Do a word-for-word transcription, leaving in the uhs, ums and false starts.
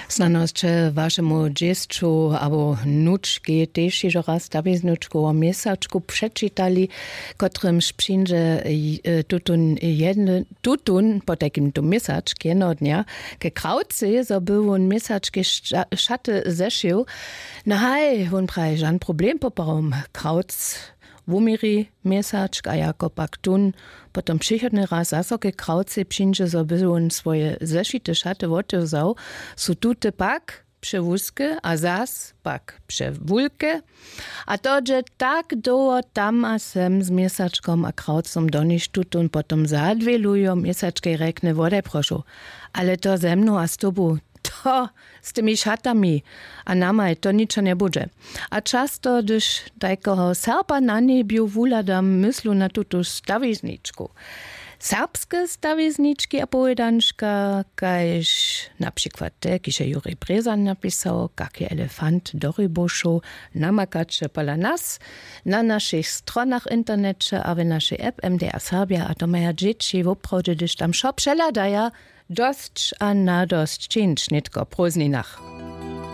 Snano sće wašemu dźěsću abo nučkej tež hižo raz stawiznučku wo měsačku přečitali, kotrymž přińdźe tutón jedny tutón potajkim tu měsačk jednoho dnja ke krawcej zo by wón měsačkej šaty zešił. No haj, wón praji žan problem poprawom krawc wuměri měsačk a jako pak tón potom přichodny raz zaso ke krawcej přińdźe zo by wón swoje zešite šaty wotewzał, su tute pak přewuske a zas pak přewulke. A to dźe tak dołho tam a sem z měsačkom a krawcom doniž tutón potom zadwělujo měsačkej rjekny wodaj prošu, ale to ze mnu a z tobu, to z tymi šatami a namaj to ničo njebudźe. A často hdyž tajkeho serpa na njebju wuhladam myslu na tutu stawizničku, serbske stawiznički a powědančka kaž na přikład te kiž je jurij brězan napisał kak je elefant do rybowšow, namakaće pola nas na našich stronach w interneće a w našej app mda serbja a to maja dźěći woprawdźe hdyž tam wšo přehladaja, dosć a nadosć čińć nětko w prózdninach.